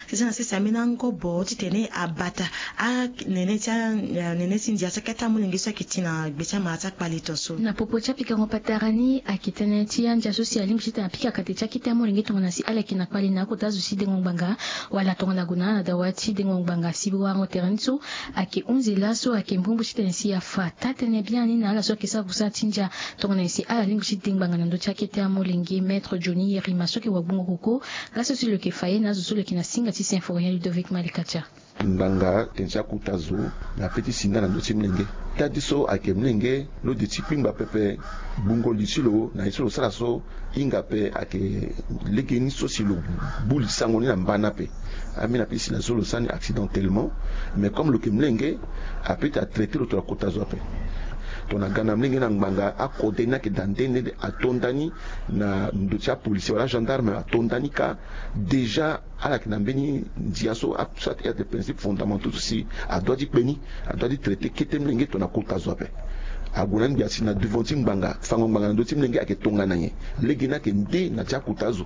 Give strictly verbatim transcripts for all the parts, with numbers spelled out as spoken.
Sese na sese ambeni angobo titene abata anene ti a- nene ti ndia ti akete amolenge so ayeke ti na gbe ti amara ti akpale tongaso. Na popo ti apikango patara ni ayeke tënë ti andia so si alingbi titene apika kate ti akete amolenge tongana si ala yeke na kpale na akota zo ti dengo ngbanga, wala tongana gue na ala na dawa ti dengo ngbanga si warango tere ni so ayeke hunzi laso ayeke mbrimbri titene si afa taa-tënë biani na ala so ayeke sara kusala ti ndia tongana nyen si ala lingbi ti de ngbanga na ndö ti akete amolenge. Maître Johnny Yerima so ayeke wagbongo koko laso si lo yeke fa ye na azo so lo yeke na singa ti Symphorien Ludovic Malikatia. Ngbanga tene ti akota zo na pe ti si nga na ndö ti molenge. Taa ti so ayeke molenge lo de ti kpingba pepe. Gbungo li ti lo na ye so lo sara so, hinga ape ayeke legeni so si lo gbu li sango ni na mbana ape. Ambeni ape si na so lo sara ni accidentellement. Mais comme lo yeke molenge, ape ti atraité lo tongana kota zo ape. Tongana ga na molenge na ngbanga, akode ni ayeke daa nde nde ato nda ni na ndo ti apolisier wala agendarme ato nda ni kâ. Déjà ala yeke na mbeni ndia so a- so ate principe fondamentaux so si adua ti kpe ni, adua ti traité kete molenge tongana kota zo ape. Ague na ni gbia si na devant ti ngbanga, fango ngbanga na ndö ti molenge ayeke tongana nyen? Lege ni ayeke nde na ti akota zo.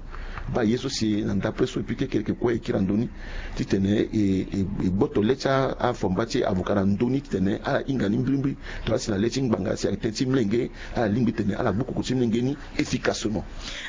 Baa ye so si na ndapre so epui kekereke kue e kiri na ndö ni titene e- e- e gboto le ti a- afomba ti avocat na ndö ni titene ala hinga ni mbrimbri. Tongana si na le ti ngbanga si ayeke tënë ti molenge, ala lingbi titene ala gbu koko ti molenge ni efficacement.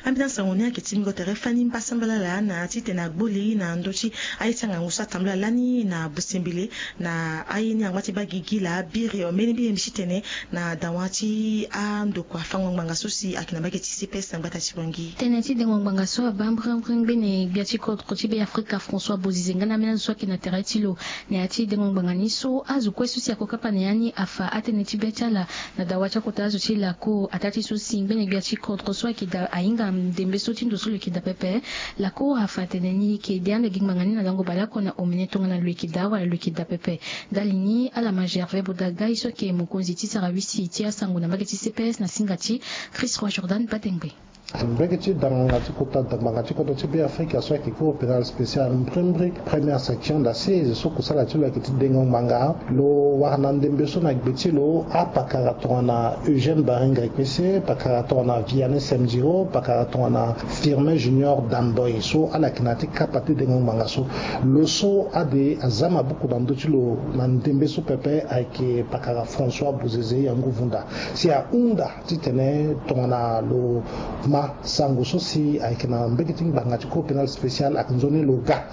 Ambeni asango ni ayeke ti mingo tere fani mbasambala laa na titene agbo li na ndö ti aye ti angangu so atambula lani na busembele na aye ni angba ti baa gigi laa biri mbeni mbi ye mbi titene na dawa ti andokua fango ngbanga so si ayeke na mbage ti C P S na gbata ti Bangui. Tënë ti dengo ngbanga so abaa mbrimbri ngbene gbia ti kodro ti Beafrika François Bozizé nga na ambeni azo so ayeke na tere ti lo na ya ti dengo ngbanga ni so azo kue so si ako kapa na ya ni afa atënë ti be ti ala na dawa ti akota azo ti lako. Ataa ti so si ngbene gbia ti kodro so ayeke daa ahinga ndembe so ti ndo so lo yeke daa pepe. Lako afa atene ni yeke de ande gi ngbanga ni na lango baleoko na omene tongana lo yeke daa wala lo yeke daa pepe. Ndali ni ala ma Gervais Bodagai so ayeke mokonzi ti sarawisi ti asango na mbage ti C P S na singa ti Chris Roi Jordan Badengbe. Mbege ti da ngbanga ti kota da ngbanga ti kodro ti Beafrika so ayeke Cour pénale spéciale mbrimbri, première section d'assises so kusala ti lo ayeke ti dengo ngbanga. Lo wara na ndembe so na gbe ti lo apakara tongana Eugène Baringa Ekpese, pakara tongana Vianney Semdiro, pakara tongana Firmin Junior Damboy so ala yeke na ya ti kapa ti dengo ngbanga so. Lo so ade aza mabuku na ndö ti lo na ndembe so pepe ayeke pakara François Bozizé Yangou Vunda si ahunda titene tongana lo ma sango so si ayeke na mbege ti ngbanga ti Cour pénale spéciale ayeke nzoni lo ga.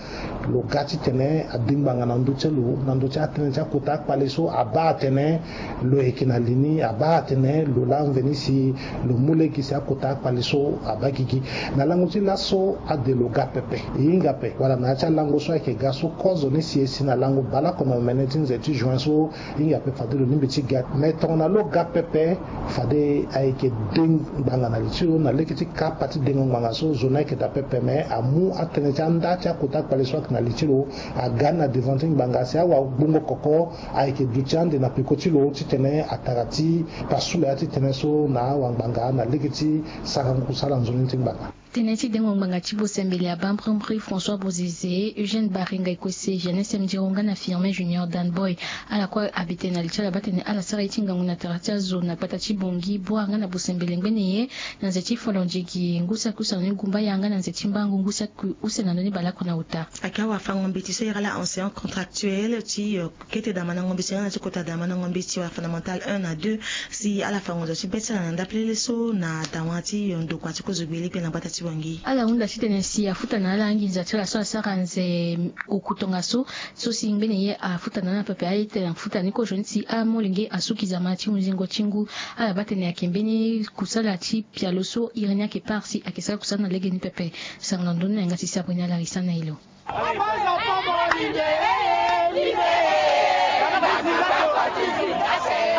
Lo ga titene ade ngbanga na ndö ti lo na ndö ti atënë ti akota akpale so abaa atene lo yeke na li ni, abaa atene lo laa mveni si lo mu lege si akota akpale so abaa gigi. Na lango ti laso ade lo ga pepe. E hinga ape wala na ya ti alango so ayeke ga so kozo ni si e si na lango baleoko na omene ti nze ti juin so, hinga ape fade lo lingbi ti ga. Me tongana lo ga pepe, fade ayeke de ngbanga na li ti lo na lege ti kapa ti dengo ngbanga so. Zo ni ayeke daa pepe me amu atënë ti anda ti akota akpale so ayeke na li ti lo aga ni na devant ti ngbanga si awagbongo koko ayeke duti ande na peko ti lo titene atara ti pasula ya ti tënë so na awangbanga na lege ti sarango kusala nzoni ti ngbanga. Tënë ti dengo ngbanga ti bosembele abaa mbrimbri François Bozizé, Eugène Baringa Ekpese, Vianney Semdiro nga na Firmin Junior Damboy. Ala kue abi tene na li ti ala baa tene ala sara ye ti ngangu na tara ti azo na gbata ti Bangui, Bouar nga na bosembele ngbene ye na nze ti Folondjigi, ngu saki use na ndoni Gumbaya nga na nze ti Mbangu, ngu saki use na ndoni baleoko na ota. Ayeke awafango-mbeti so iri ala enseignant contractuel ti kete damandango mbeti nga na ti kota damandango mbeti wala fondamental un na deux, si ala fa ngonzo ti be ti ala na ndapelele so na dawa ti ndokua ti kozo gbe lege na gbata ti Bangui. Ala hunda titene si afuta na ala anginza ti ala so asara nze oku tongaso, so si ngbene ye afuta na ala pepe aye titene afuta ni kozoni si amolenge asuki zama ti hunzingo ti ngu. Ala baa tene ayeke mbeni kusala ti pialo so iri ni ayeke part si ayeke sara kusala na legeni pepe. Sango na ndoni na yanga ti sabri ni ala risa na e lo.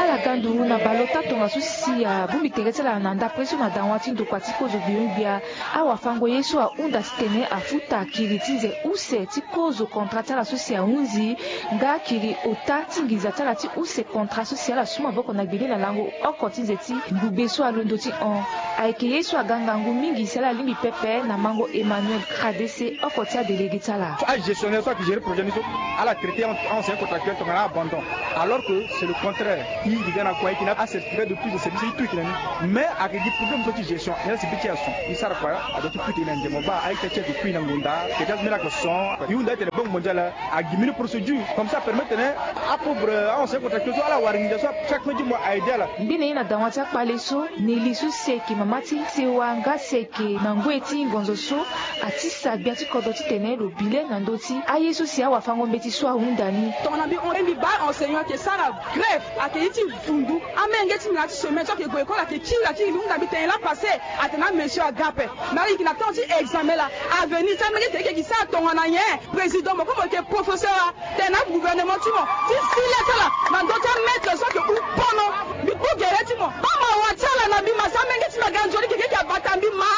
Ala ga nduru na baleota tongaso si abongbi tere ti ala na ndapre so na dawa ti ndokua ti kozo gbio-gbia. Awafango ye so ahunda titene afuta kiri ti nze use ti kozo kontra ti ala so si ahunzi nga kiri ota ti nginza ti ala ti use kontra so si ala su maboko na gbele na lango oko ti nze ti ngugbe so alondo ti hon. Ayeke ye so aga ngangu mingi si ala lingbi pepe na mango Emmanuel Kradese oko ti adelege ti ala. Agestionnaire so ayeke gérer projet ni so ala traité en ancien contractuel tongana abandon. Alors que c'est le contraire. I yeke ga na kua, i yeke na acertificat de prise de service, i tout i yeke na ni. Mais ayeke gi problème so ti gestion. Ni la si be ti action i sara kua, adoit ti puta i na nze mo baa a-ita ti ayeke kui na ngonda. Ke ti azo ni la ayeke son i hunda tene Banque Mondiale agi mbeni procédure comme ça apermettre tene apauvre, a-enseignant contractuel so ala wara nginza so chaque fin du mois a-aider ala. Ngbene ye na dawa ti akpale so Nelly so si ayeke mama ti sewa nga si ayeke na ngoi ti ngonzo so atisa gbia ti kodro titene lo bi le na ndö ti aye so si awafango-mbeti so ahunda ni. Tongana mbi hon- mbi baa enseignant ayeke sara grève, ayeke ye ti vundu. Amenge ti mbi na ya ti semaine so ayeke gue école ayeke kiri, ayeke kiri, mbi hunda mbi tene la passé atene amesio aga ape. Mais ala yeke na temps ti examen laa. Avenir ti amenge ti ayeke sara tongana nyen? Président mo kue mo yeke professeur a, tene na gouvernement ti mo ti si le ti ala na ndö ti amaître so ayeke hu pono. Mbi kpo gere ti mo, baa mawa ti ala na mbi ma si amenge ti mbi aga nzoni keke ayeke abata mbi ma.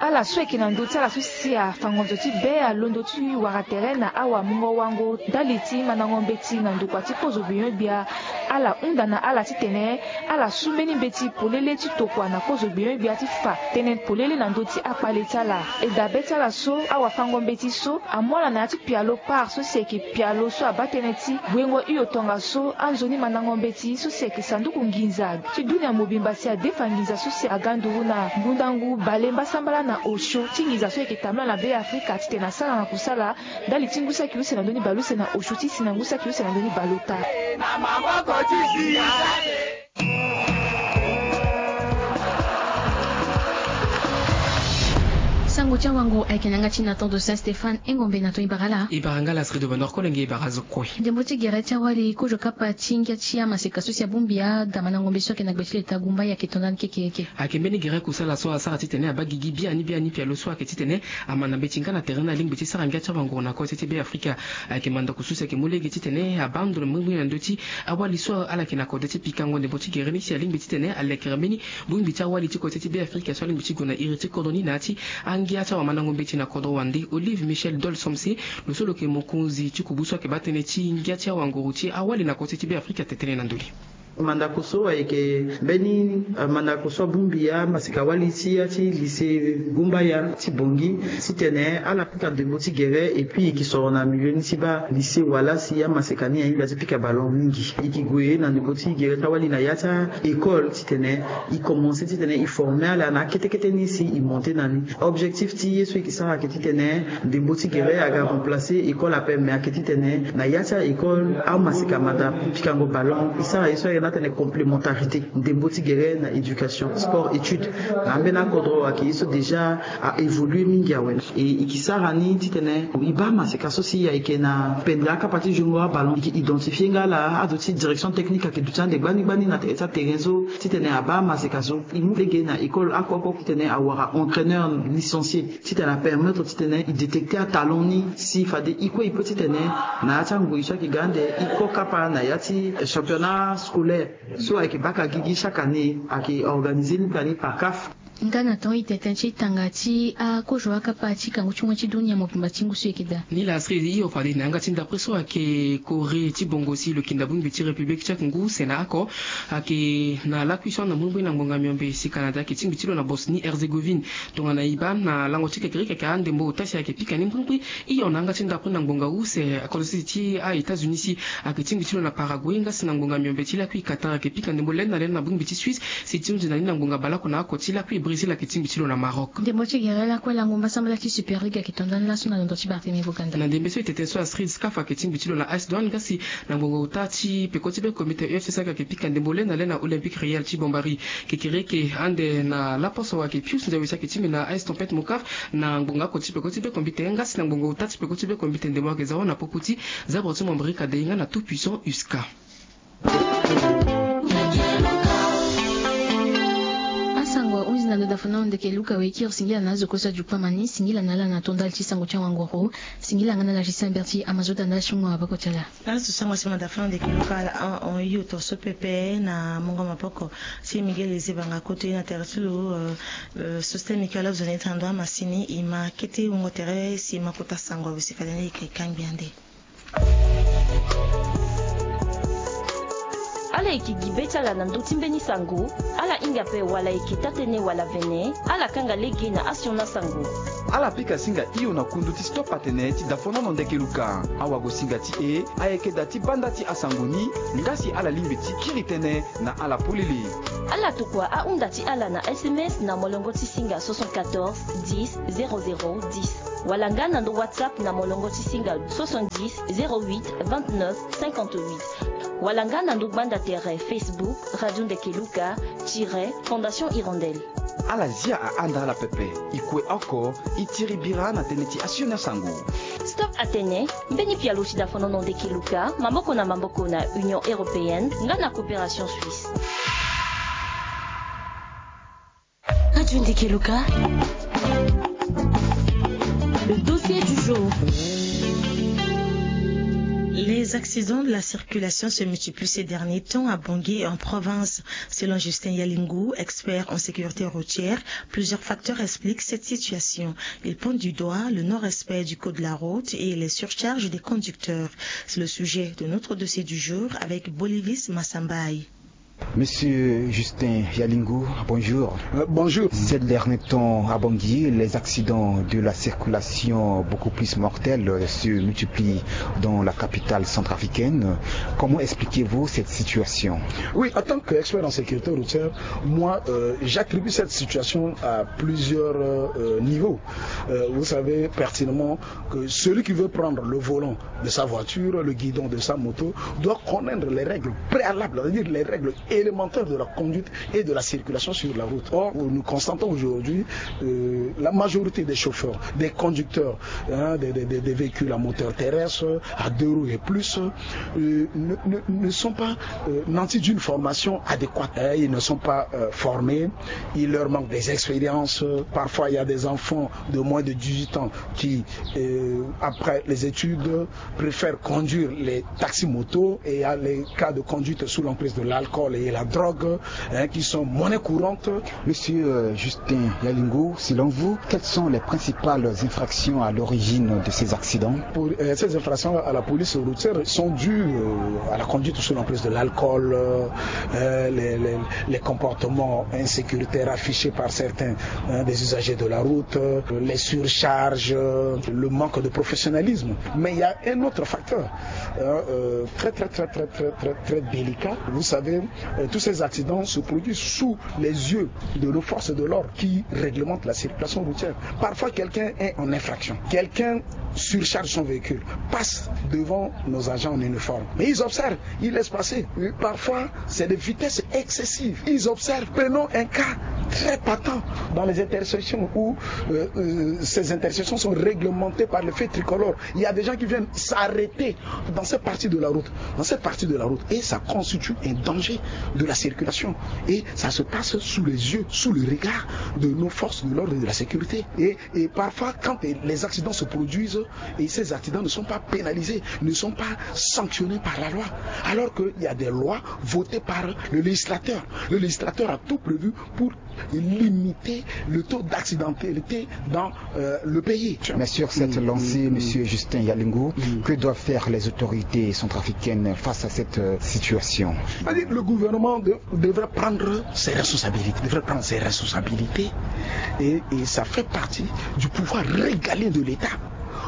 Ala so ayeke na ndö ti ala so si afa ngonzo ti be alondo ti wara tere na awamungo-wango ndali ti mandango-mbeti na ndokua ti kozo gbenyo-gbia. Ala hunda na ala titene ala su mbeni mbeti polele ti tokua na kozo gbenyo-gbia ti fa tënë polele na ndö ti akpale ti ala. E dabe ti ala so awafango-mbeti so amu ala na ya ti pialo Par so si ayeke pialo so abaa tënë ti wengo hio tongaso anzoni mandango-mbeti so si ayeke sanduku nginza ti dunia mobimba si adefa nginza so si aga nduru na ngbundangu bale mbasambala na osio ti nginza so ayeke tambula na Be Afrika titene asara na kusala ndali ti ngu saki use na ndö ni bale use na osio ti si na ngu saki use na ndö ni bale ota. Sango ti awango ayeke na yanga ti Nathan de Saint Stéphane. Engombe na ton ibara la. Ibara nga la Sri de Bonheur Kolenge, ibara zo kue. Ndembo ti gere ti awali kozo kapa ti ngia ti amaseka so si abongbi aga mandango-mbeti so ayeke na gbe ti leta Gumbaya ayeke tonda ni kekereke. Ayeke mbeni gere kusala so asara titene abaa gigi biani biani pialo so ayeke titene amanda mbeti nga na tere ni alingbi ti sara ngia ti awanguru na kose ti Be Afrika. Ayeke mandako so si ayeke mu lege titene abaa ndo na mbongbongo na ndö ti awali so ala yeke na kode ti pikango ndembo ti gere ni si alingbi titene alekere mbeni bongbi ti awali ti kose ti Be Afrika so alingbi ti gue na iri ti kodro ni na ya ti angia ti awamandango-mbeti na kodro wande. Olive Michel Dol Somse, lo so lo yeke mokonzi ti kubu so ayeke baa tënë ti ngia ti awanguru ti awali na kose ti Be Afrika atene tënë na ndö ni. Mandako so ayeke mbeni, eh, mandako so abongbi amaseka wali ti ya ti lycée Gumbaya ti Bangui titene ala pika ndembo ti gere, et puis e yeke soro na milieu ni ti baa lycée wala si amaseka ni ahinga ti pika ballon mingi. E yeke gue na ndembo ti gere ti awali na ya ti a-école titene e commencer titene e former ala na akete kete ni si e monter na ni. Objectif ti ye so e yeke sara ayeke titene ndembo ti gere aga remplacer école ape, mais ayeke titene na ya ti a-école amaseka manda pikango ballon. E sara ye so ayeke na atene complémentarité, ndembo ti gere na éducation, sport, étude. Na ambeni akodro ayeke ye so déjà a évoluer mingi awe. E, e yeke sara ni titene e baa amaseka so si ayeke na pendere akapa ti jongo aballon, e yeke identifier nga ala, azo ti direction technique ayeke duti ande gbani gbani na tere ti aterrain so titene abaa amaseka so. E mu lege na école oko oko titene awara entraîneur licencié titene apermettre titene e détecter atalent ni si fade e kue e peut titene na ya ti angoi so ayeke ga ande e ko kapa na ya ti championnat scolaire so ayeke baka gigi chaque année, ayeke organiser ni kani par CAF. Nga na temps itete ti tanga ti akozo akapa ti kangu ti ngoi ti dunia mobimba ti ngu so e yeke daa. Ni la siri hio fade na yanga ti ndapre so ayeke Corée ti bongo si lo yeke nda bongbi ti République Tchèque ngu use na oko. Ayeke na lakui so ana mbrimbri na ngbonga miombe si Canada ayeke tingbi ti lo na Bosnie-Herzégovine. Tongana e baa na lango ti kekereke ayeke andembo ota si ayeke pika ni mbrimbri. Hio na yanga ti ndapre na ngbonga use akodro sese ti a-États-Unis si ayeke tingbi ti lo na Paraguay nga si na ngbonga miombe ti lakui Qatar ayeke pika ndembo lani na lani na bongbi ti Suisse. Si ti hunzi na ni na ngbonga baleoko na oko ti lakui Brésil ayeke tingbi ti lo na Maroc. Ndembo ti gere lakue lango mbasambala ti Super League ayeke tonda ni laso na londo ti Barthélemy Boganda. Na ndembe so e tete so Astrid Scaf ayeke tingbi ti lo na A S Douanes nga si na ngbonga ota ti peko ti be komite U F C si ayeke pika ndembo le na le na Olympique Real ti Bombari. Kekereke ande na laposo ayeke Pius Nzawe si ayeke tingbi na A S Tempête Mocaf na ngbonga oko ti peko ti be komite nga si na ngbonga ota ti peko ti be komite ndembo ayeke za wâ na popo ti Zabre ti Mombari Kadei nga na Tout Puissant U S C A. Asango ahunzi na ndo dafana ndeke luka wekiri singila na azo kosa jukpa mani singila na ala na tondali ti sango ti awangoro. Singila nga na ala ti samber ti amazoda na ala ti mungo maboko ti ala. Azo sango ti manda fana ndeke luka ala ahon hio tonso pepe na mungo maboko ti Miguel Ezebanga kote na tere ti lo. Soste Michael Obzoni tando amasini e ma kete wungo tere si e ma kota sango awe si fade ni e yeke kangbi ande. Ala yeke gi be ti ala na ndö ti mbeni sango. Ala hinga ape wala e yeke taa-tënë wala vene, ala kanga lege na asioni asango. Ala pika singa hio na kundu ti Stop Atene ti dafonono ndeke luka. Awagosinga ti e ayeke daa ti banda ti asango ni, nga si ala lingbi ti kiri tënë na ala polele. Ala tokua ahunda ti ala na S M S na molongo ti singa soixante-quatorze dix zéro zéro dix, wala nga na ndo WhatsApp na molongo ti singa soixante-dix zéro huit vingt-neuf cinquante-huit, wala nga na ndo gbanda tere Facebook Radio Ndeke Luka tiret Fondation Hirondelle. Ala zia ahanda ala pepe. E kue oko e tiri bira na tënë ti asioni asango. Stop Atene, mbeni pialo ti dafonono ndeke luka, maboko na maboko na Union Européenne nga na Coopération Suisse. Radio Ndeke Luka. Le dossier du jour. Les accidents de la circulation se multiplient ces derniers temps à Bangui et en province. Selon Justin Yalingou, expert en sécurité routière, plusieurs facteurs expliquent cette situation. Il pointe du doigt le non-respect du code de la route et les surcharges des conducteurs. C'est le sujet de notre dossier du jour avec Bolivis Massambaye. Monsieur Justin Yalingou, bonjour. Euh, bonjour. Ces derniers temps à Bangui, les accidents de la circulation beaucoup plus mortels, euh, se multiplient dans la capitale centrafricaine. Comment expliquez-vous cette situation ? Oui, en tant qu'expert en sécurité routière, moi, euh, j'attribue cette situation à plusieurs, euh, niveaux. Euh, vous savez pertinemment que celui qui veut prendre le volant de sa voiture, le guidon de sa moto, doit connaître les règles préalables, c'est-à-dire les règles élémentaires de la conduite et de la circulation sur la route. Or, nous constatons aujourd'hui, euh, la majorité des chauffeurs, des conducteurs, hein, des, des, des, des véhicules à moteur terrestre, à deux roues et plus, euh, ne, ne, ne sont pas, euh, nantis d'une formation adéquate. Hein, ils ne sont pas, euh, formés, il leur manque des expériences. Parfois, il y a des enfants de moins de dix-huit ans qui, euh, après les études, préfèrent conduire les taxis-motos, et il y a les cas de conduite sous l'emprise de l'alcool et la drogue, hein, qui sont monnaie courante. Monsieur, euh, Justin Yalingou, selon vous, quelles sont les principales infractions à l'origine de ces accidents ? Pour, euh, ces infractions à la police routière sont dues, euh, à la conduite sous l'emprise de l'alcool, euh, euh, les, les, les comportements insécuritaires affichés par certains, hein, des usagers de la route, euh, les surcharges, euh, le manque de professionnalisme. Mais il y a un autre facteur, hein, euh, très, très, très, très, très, très, très délicat. Vous savez, euh, tous ces accidents se produisent sous les yeux de nos forces de l'ordre qui réglementent la circulation routière. Parfois, quelqu'un est en infraction. Quelqu'un surcharge son véhicule, passe devant nos agents en uniforme. Mais ils observent, ils laissent passer. Et parfois, c'est des vitesses excessives. Ils observent. Prenons un cas très patent dans les intersections où, euh, euh, ces intersections sont réglementées par le feu tricolore. Il y a des gens qui viennent s'arrêter dans cette partie de la route, dans cette partie de la route, et ça constitue un danger de la circulation. Et ça se passe sous les yeux, sous le regard de nos forces de l'ordre et de la sécurité. Et, et parfois, quand les accidents se produisent, et ces accidents ne sont pas pénalisés, ne sont pas sanctionnés par la loi, alors qu'il y a des lois votées par le législateur. Le législateur a tout prévu pour limiter le taux d'accidentalité dans, euh, le pays. Mais sur cette lancée, monsieur Justin Yalingou, que doivent faire les autorités centrafricaines face à cette, euh, situation ? C'est-à-dire, le gouvernement de-, devrait prendre ses responsabilités, devrait prendre ses responsabilités, et, et ça fait partie du pouvoir régalien de l'État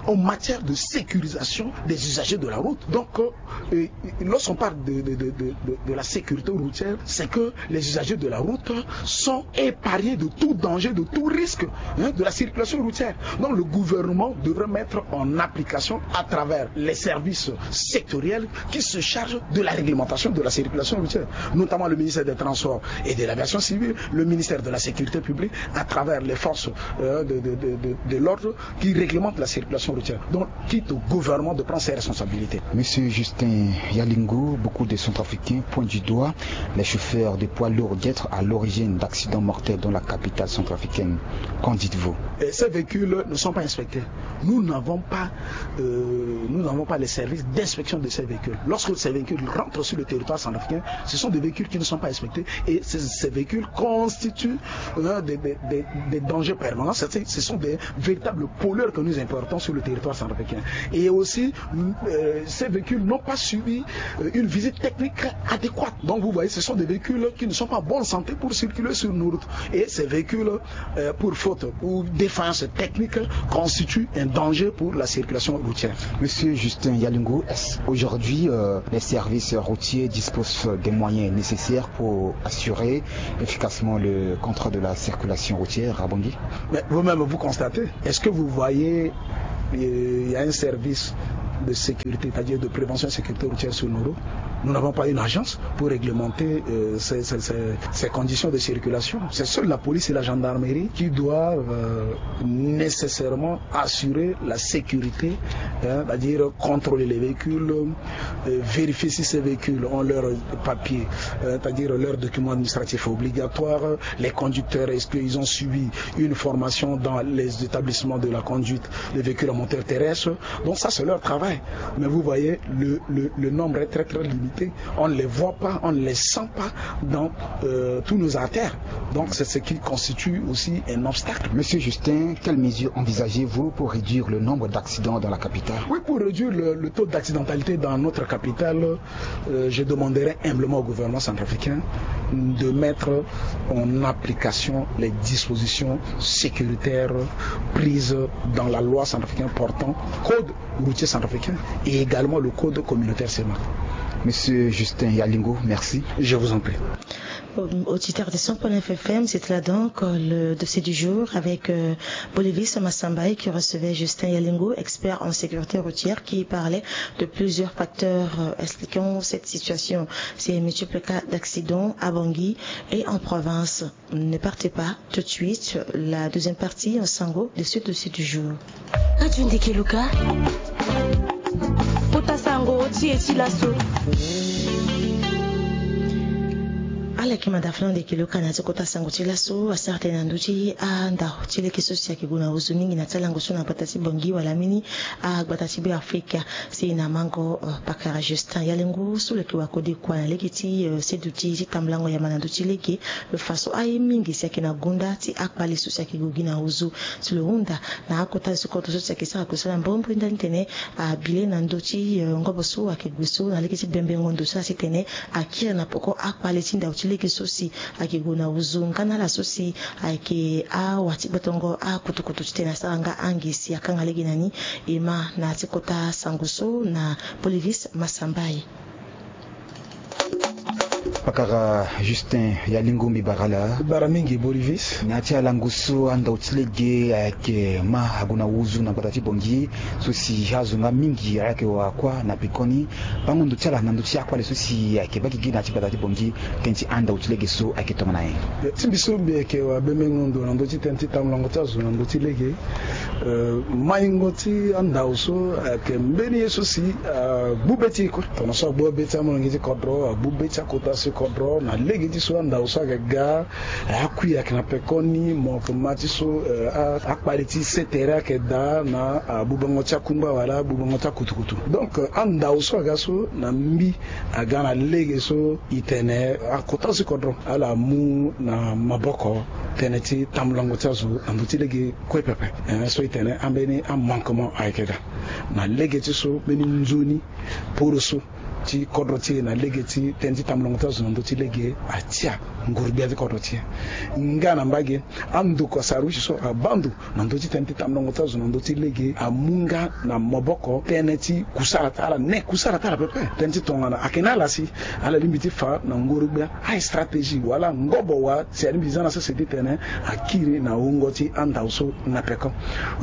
en matière de sécurisation des usagers de la route. Donc, euh, et, et lorsqu'on parle de, de, de, de, de, de la sécurité routière, c'est que les usagers de la route sont épargnés de tout danger, de tout risque, hein, de la circulation routière. Donc, le gouvernement devrait mettre en application à travers les services sectoriels qui se chargent de la réglementation de la circulation routière, notamment le ministère des Transports et de l'Aviation civile, le ministère de la Sécurité publique, à travers les forces, euh, de, de, de, de, de l'ordre, qui réglemente la circulation routière. Donc, quitte au gouvernement de prendre ses responsabilités. Monsieur Justin Yalingou, beaucoup de Centrafricains pointent du doigt les chauffeurs de poids lourds d'être à l'origine d'accidents mortels dans la capitale centrafricaine. Qu'en dites-vous ? Et ces véhicules ne sont pas inspectés. Nous n'avons pas, euh, nous n'avons pas les services d'inspection de ces véhicules. Lorsque ces véhicules rentrent sur le territoire centrafricain, ce sont des véhicules qui ne sont pas inspectés et ces, ces véhicules constituent, euh, des, des, des, des dangers permanents. C'est- Ce sont des véritables pollueurs que nous importons sur le territoire centrafricain. Et aussi, euh, ces véhicules n'ont pas suivi, euh, une visite technique adéquate. Donc vous voyez, ce sont des véhicules qui ne sont pas en bonne santé pour circuler sur nos routes. Et ces véhicules, euh, pour faute ou défaillance technique, constituent un danger pour la circulation routière. Monsieur Justin Yalingo, est-ce qu'aujourd'hui, euh, les services routiers disposent des moyens nécessaires pour assurer efficacement le contrôle de la circulation routière à Bangui ? Mais vous-même, vous constatez, est-ce que vous voyez, euh, il y a un service de sécurité, c'est-à-dire de prévention et sécurité routière sur nos routes ? Nous n'avons pas une agence pour réglementer, euh, ces, ces- ces- ces conditions de circulation. C'est seule la police et la gendarmerie qui doivent, euh, nécessairement assurer la sécurité, hein, c'est-à-dire contrôler les véhicules, euh, vérifier si ces véhicules ont leurs papiers, euh, c'est-à-dire leurs documents administratifs obligatoires, les conducteurs, est-ce qu'ils ont suivi une formation dans les établissements de la conduite des véhicules à moteur terrestre. Donc ça, c'est leur travail. Mais vous voyez, le, le- le nombre est très, très limité. On ne les voit pas, on ne les sent pas dans, euh, tous nos artères. Donc c'est ce qui constitue aussi un obstacle. Monsieur Justin, quelles mesures envisagez-vous pour réduire le nombre d'accidents dans la capitale ? Oui, pour réduire le, le taux d'accidentalité dans notre capitale, euh, je demanderai humblement au gouvernement centrafricain de mettre en application les dispositions sécuritaires prises dans la loi centrafricaine portant code routier centrafricain et également le code communautaire CEMAR. Monsieur Justin Yalingo, merci. Je vous en prie. Auditeurs de cent point neuf F M, c'était là donc, euh, le dossier du jour avec, euh, Bolivis Massambaye qui recevait Justin Yalingo, expert en sécurité routière, qui parlait de plusieurs facteurs, euh, expliquant cette situation. Ces multiples cas d'accidents à Bangui et en province. Ne partez pas, tout de suite, la deuxième partie en sango de ce dossier du jour. Radio Ndeke Luka. Kota sango ti e ti laso. Ala yeke manda fana ndeke Luka na ya ti kota sango ti laso asara tënë na ndö ti andao ti lege so si ayeke gue na ozo mingi na ti alango so na gbata ti Bangui wala mbeni agbata ti Beafrika. Si na mango, euh, pakara Justin Yalingo so lo yeke wakode kua na lege ti, euh, seduti ti tambulango yamba na ndö ti lege, lo fa so aye mingi si ayeke na gonda ti akpale so si ayeke gue gi na ozo. Si lo hunda na akota zo ti kodro so si ayeke sara gue so na mbombo ndani tene abi le na ndö ti, euh, ngobo so ayeke gue so na lege ti bembengo ndo so asi tene akiri na peko akpale ti ndao ti lege so si ayeke gue na ozo nga na ala so si ayeke awa ti gbotongo akutukutu titene asara nga ange si akanga lege na ni. E ma na ya ti kota sango so na Bolivis Massambaye. Pakara Justin Yalingo, mbi bara ala. Bara mingi Bolivis. Na ya ti alango so andao ti lege ayeke ma ague na ozo na gbata ti Bangui so si azo nga mingi ayeke wa kua na pekoni. Bango ndo ti ala na ndö ti akpale so si ayeke baa gigi na ya ti gbata ti Bangui, tënë ti andao ti lege so ayeke tongana nyen? Ti mbi so mbi yeke wa bembengo ndo na ndö ti tënë ti tambulango ti azo na ndö ti lege. Euh, maingo ti andao so ayeke mbeni ye so si, euh, agbu be ti e kue. Tongana so agbu be ti amolenge ti kodro, agbu be ti akota so kodro na lege ti so andao so ayeke ga, akui ayeke na pekoni, mo yeke ma ti so, euh, a- akpale ti se tere ayeke daa na, ah, abubango ti akungba wala abubango ti akutukutu. Donc, euh, andao so aga so na mbi aga na lege so e tene akota so kodro ala mu na maboko tënë ti tambulango ti azo na ndö ti lege kue pepe. Eh, so e tene ambeni amanquement ayeke daa na lege ti so mbeni nzoni poroso ti kodro ti e na lege ti tënë ti tambulango ti azo na ndö ti lege atia nguru-gbia ti kodro ti e. Nga na mbage, andokua sarusi so abaa ndo na ndö ti tënë ti tambulango ti azo na ndö ti lege amu nga na maboko tënë ti kusara ti ala, ne kusara ti ala pepe. Tënë ti tongana ayeke na ala si ala lingbi ti fa na ngoro-gbia astratégie wala ngobo wa si alingbi ti za na sese ti tene akiri na wungo ti andao so na peko.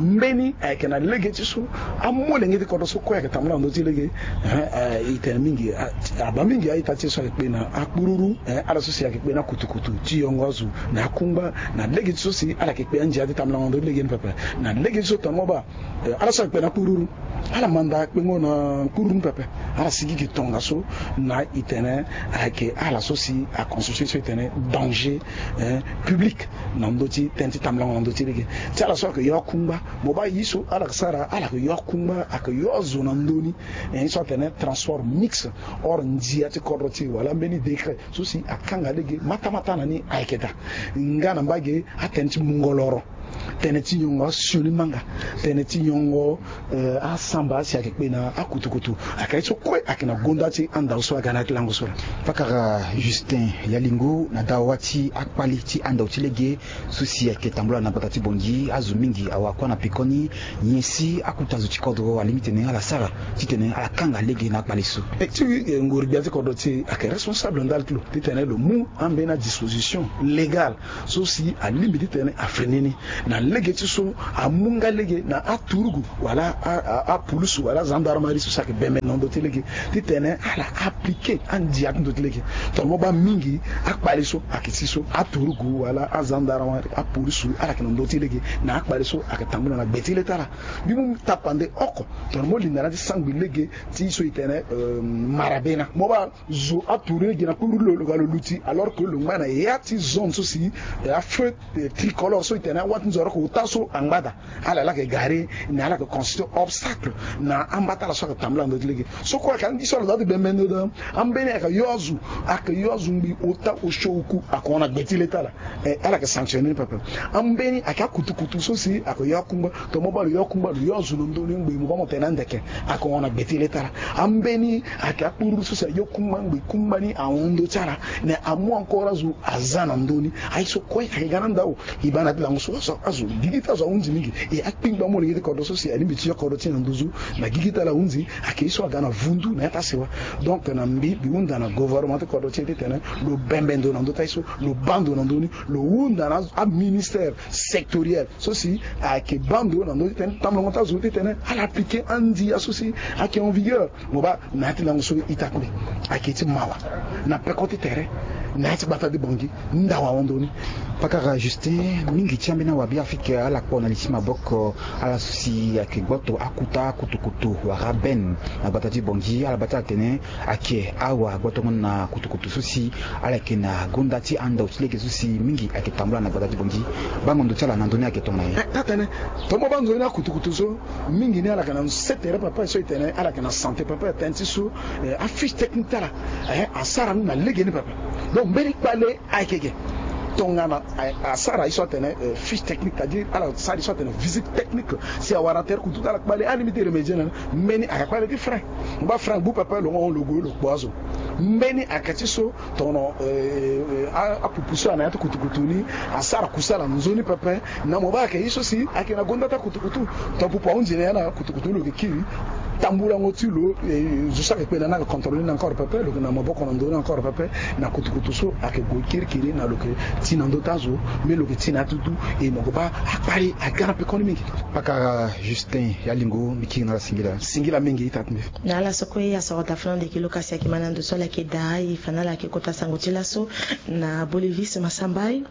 Mbeni ayeke na lege ti so amolenge ti kodro so kue ayeke tambula na ndö ti lege, eh, eh, e tene Mingi, a- abaa mingi a-ita ti e so ayeke kpe na akpururu, eh, ala so si ayeke kpe na kutukutu ti yongo azo na akungba, na lege ti so si ala yeke kpe andia ti tambulango ndö ti lege ni pepe. Na lege ti so tongana mo baa, eh, ala so ayeke kpe na akpururu, ala manda kpengo na kpururu ni pepe. Ala sigi gi tongaso na e tene ayeke ala so si aconstitue so e tene danger, eh, public na ndö ti tënë ti tambulango na ndö ti lege. Ti ala so ayeke yo akungba, mo baa ye so ala yeke sara, ala yeke yo akungba, ayeke yo azo na ndö ni. Eh, ye so atene transport mixte hors ndia ti kodro ti e wala mbeni décret so si akanga lege matamata na ni ayeke daa. Nga na mbage atënë ti mungo loro, tënë ti nyongo asioni manga, tënë ti nyongo, eh, asamba si ayeke kpe na akutukutu. Ayeke ye so kue ayeke na gonda ti andao so aga na ya ti lango so laa. Pakara Justin Yalingo, na dawa ti akpali ti andao ti lege so si ayeke tambula na gbata ti Bangui, azo mingi awakua na pekoni. Nyen si akota zo ti kodro alingbi titene ala sara titene ala kanga lege na akpali so? E ti, eh, ngoro-gbia ti kodro ti e ayeke responsable ndali ti lo titene lo mu ambeni adisposition légale so si alingbi titene afini ni. Na lege ti so amu nga lege na aturugu wala a- a- apulusu wala agendarmerie so si ayeke bembe na ndö ti lege titene ala aplike andia ti ndö ti lege. Tongana mo baa mingi akpali so ayeke ti so aturugu wala agendarmerie, apolisu, ala yeke na ndö ti lege na akpali so ayeke tambula na gbe ti le ti ala. Mbi mu tapande oko tongana mo linda na ya ti sangbi lege ti so e tene, euh, Marabena. Mo baa zo aturugu ni gi na kuru lo, lo ga lo luti, alors que lo ngba na ya ti zone so si, eh, afeu, eh, tricolore so e tene awa ti nzoro oko ota so angba daa. Ala laa ayeke gare, na ala yeke constitue obstacle na amba ti ala so ayeke tambula na ndö ti lege. So kue ayeke andi so ala daa ti bembe ndo daa. Ambeni ayeke yo azo, ayeke yo azo ngbii ota osio oku ayeke hon na gbe ti le ti ala. Eh, ala yeke sanctionner ni pepe. Ambeni ayeke akutukutu so si ayeke yo akungba. Tongana mo baa lo yo akungba, lo yo azo na ndö ni ngbii mo baa mo tene andeke, ayeke hon na gbe ti le ti ala. Ambeni ayeke akpururu so si ayo kungba ngbii kungba ni ahon ndö ti ala. Na amu encore azo aza na ndö ni. Aye so kue ayeke ga na ndao. E baa na ya ti lango so azo, azo gigi ti azo ahunzi mingi. E akpingba molenge ti kodro so si alingbi ti yo kodro ti e na nduzu. Na gigi ti ala ahunzi, ayeke ye so aga na vundu na ya ti asewa. Donc na mbi, mbi hunda na gouvernement ti kodro ti e titene lo bembe ndo na ndö ti aye so, lo baa ndo na ndö ni, lo hunda na aministère sectoriel so si ayeke baa ndo na ndö titene tambulango ti azo titene ala appliquer andia so si ayeke en vigueur. Mo baa na ya ti lango so ita kue ayeke ti mawa na peko ti tere na ya ti gbata ti Bangui. Ndao ahon ndo ni. Pakara Justin, mingi ti ambeni awa Beafrika ala kpo na li ti maboko, ala so si ayeke gboto akuta kutukutu wala bene na gbata ti Bangui, ala baa ti ala tene ayeke awa gbotongo na kutukutu so si ala yeke na gonda ti andao ti lege so si mingi ayeke tambula na gbata ti Bangui. Bango ndo ti ala na ndö ni ayeke tongana nyen? Eh, taa tene, tongana mo baa nzoni akutukutu so, mingi ni ala yeke na sete tere pepe so e tene ala yeke na santé pepe, tënë ti so, eh, afiche technique ti ala, eh, asara ni na lege ni pepe. Donc mbeni kpale ayeke ge. Tongana a- asara ye so atene, eh, fiche technique, c'est-à-dire ala sara ye so atene visite technique, si awara tere kutu ti ala kpale alingbi ti remédier na ni. Mbeni ayeke kpale ti frein. Mo baa frein agbu pepe, lo hon lo gue lo kpo azo. Mbeni ayeke ti so tongana, eh, eh, a- apupu so ayeke na ya ti kutukutu ni asara kusala nzoni pepe. Na mo baa ayeke ye so si ayeke na gonda ti akutukutu. Tongana pupu ahunzi na ya na kutukutu ni, lo yeke kiri tambulango ti lo, eh, zo so ayeke kpe na ni ayeke contrôler ni encore pepe, lo yeke na maboko na ndö ni encore pepe. Na kutukutu so ayeke gue kirikiri na lo yeke ti na ndö ti azo, mais lo yeke ti na ya ti dudu. E mo yeke baa akpali aga na pekoni mingi. Pakara Justin Yalingo, mbi kiri na ala singila. Singila mingi ita ti mbi. Na ala so kue asoro dafuna ndeke lo kasi ayeke ma na ndo so ala yeke daa, e fa na ala yeke kota sango ti laso na Bolivis Masambai.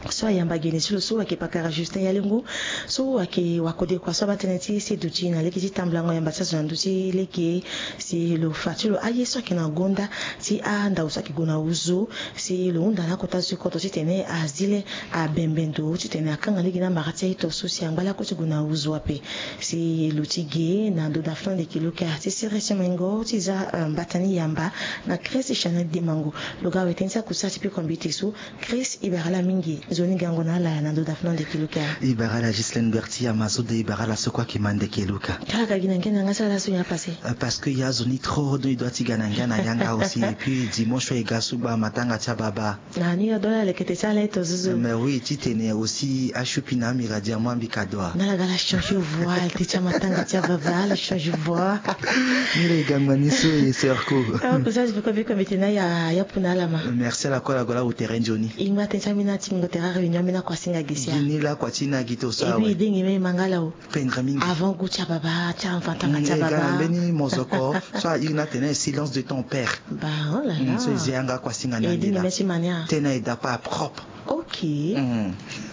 So ayamba geni ti lo so ayeke pakara Justin Yalingo, so ayeke wakodekua so abaa tënë ti seduti na lege ti tambulango yamba ti azo na ndö ti lege. Si lo fa ti lo aye so ayeke na gonda ti andao so ayeke gue na wuzu, si lo hunda na akota zo ti kodro titene azi le abembe ndo titene akanga lege na amara ti aye to so si angba lakue ti gue na wuzu ape. Si lo ti ge na ndo dafuna ndeke lo ka ti sere ti mengo ti za, eh, mbata ni yamba na Chris Chanel Demango. Lo ga awe tënë ti akusala ti peko mbeti so. Chris, e bara ala mingi. Nzoni gango na ala na ndo dafuna ndeke lo ka. E bara ala Ghislaine Berti Amazon de, e bara ala so kue ayeke ma ndeke lo ka. Kala ka gi na ngia na yanga ti ala so nyen apase? Euh, parce que ya zo ni trop, donc e doit ti ga na ngia na yanga aussi. Et puis dimanche so e ga so gba matanga ti ababa. Na ni ado ala lekete ti ala eto zuzu. Mais oui, titene aussi ashupi na amira dia mo ambi kado. Na ala ga ala changer voix, te ti amatanga ti ababa ala changer voix. Ni le gangba ni so e sœur ko. Ah, kusala ti biko biko mbi tene na ya, ya puna ala ma. Merci ala ko ala go la au terrain Johnny. Ingba tene ti ambeni ti mingo terrain réunion ambeni akua singa gi sia. Gi ni la kua ti na gi to sa. Et puis e dengi me e ma nga la o. Pendre mingi. Avant goût ti ababa ti amatanga ti E ga na mbeni mozoko so a iri ni atene silence de ton père. Ba, oh là là. So e zi yanga kuasinga ni andi la. Tena e dapa propre. Ok.